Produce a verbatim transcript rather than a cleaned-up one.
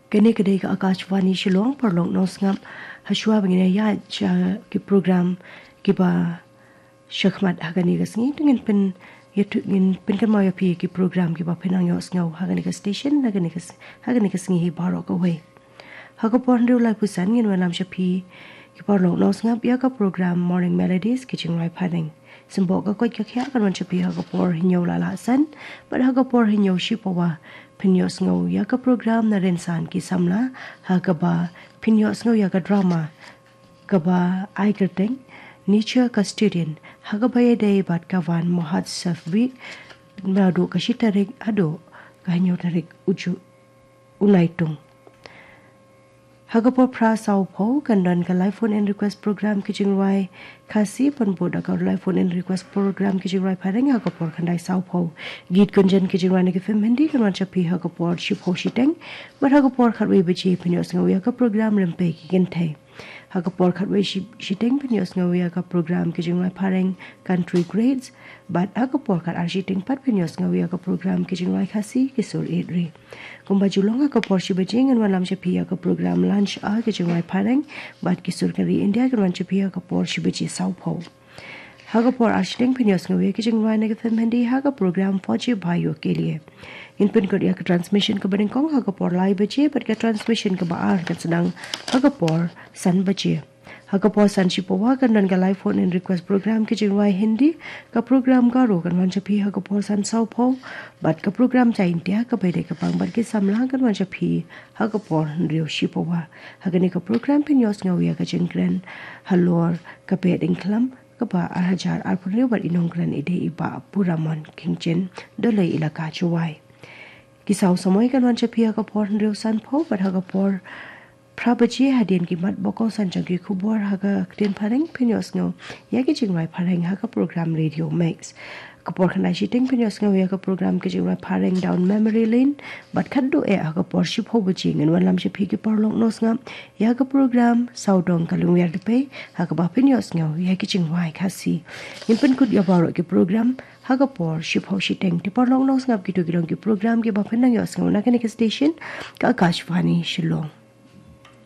Kane ka dei ka Akashvani Shillong, paralok nongsngap, hashwa ba ngin ïa sha ki program kiba shakhmat ha kane ka sngi, to ngin pyn, ïa to ngin pynkynmaw ïa phi ki program kiba phin nang ïohsngew ha kane ka station, ha kane ka s-, ha kane ka sngi hi baroh kawei. Ha ka por hynriew laiphew san ngin wanlam sha phi ki paralok nongsngap ïa ka program Morning Melodies, ki jingrwai phareng. Symboh ka koit ka khiah kan wan sha phi ha ka por hynñiew la la san, bad ha ka por hynñiew shipawa phin ïohsngew ïa ka program Na Rynsan ki Samla, ha kaba phin ïohsngew ïa ka drama kaba ai kyrteng Nature Custodian, ha kaba ïadei bad ka van Mahotsav Week, naduh ka shi tarik haduh ka hynñiew tarik u Ju-, u Naitung. Ha ka por phra sawphew kan don ka live phone in request program ki jingrwai Khasi, pynbud da ka live phone in request program ki jingrwai phareng ha ka por khyndai sawphew. Geet Gunjan ki jingrwai na ki film Hindi kan wan sha phi ha ka por shiphew shiteng, bad ha ka por khatwei baje phin ïohsngew ïa ka program Rympei ki Kynthei. Ha ka por khatwei shi-, shiteng phin ïohsngew ïa ka program ki jingrwai phareng Country Greats, bad ha ka por khatar shiteng pat phin ïohsngew ïa ka program ki jingrwai Khasi Ki Sur Ïeit Ri. Kumba ju long, ha ka por shi baje ngin wanlam sha phi ïa ka program Lunch Hour ki jingrwai phareng, bad Ki Sur Ka Ri India kan wan sha phi ha ka por shi baje sawphew. Ha ka por ar shiteng phin ïohsngew ïa ki jingrwai na ki film Hindi ha ka program Fauji Bhaiyon Ke Liye. Ngin pynkut ïa ka transmission kaba nyngkong ha ka por lai baje, bad ka transmission kaba ar kan sdang ha ka por san baje. Ha ka por san shipawa kan don ka live phone in request program ki jingrwai Hindi, ka program Garo kan wan sha phi ha ka por san sawphew, bad ka program Jaiñtia kaba ïadei ka pang bad ki samla kan wan sha phi ha ka por hynriew shipawa. Ha kane ka program phin ïohsngew ïa ka jingkren halor ka Behdeiñkhlam kaba ar hajar arphew hynriew bad i nongkren i dei i Bah Puramon Kyngjin, Dolloi Elaka Jowai. Ki saw samoi kan wan sha phi ha ka por hynriew sanphew, bad ha ka por phra baje hadien ki mat ba kongsan jong ki khubor ha ka ktien phareng phin ïohsngew ïa ki jingrwai phareng ha ka program Radio Mix. Ka por khyndai shiteng phin ïohsngew ïa ka program ki jingrwai phareng Down Memory Lane, bad khatduh eh ha ka por shiphew baje ngin wanlam sha phi ki paralok nongsngap ïa ka program Sawdong Ka Lungwiar Dpei, ha kaba phin ïohsngew ïa ki jingrwai Khasi. Ngin pynkut ïa baroh ki program ha ka por shiphew shiteng. Te paralok nongsngap, kito ki long ki program kiba phin nang ïohsngew na kane ka station, ka Akashvani Shillong.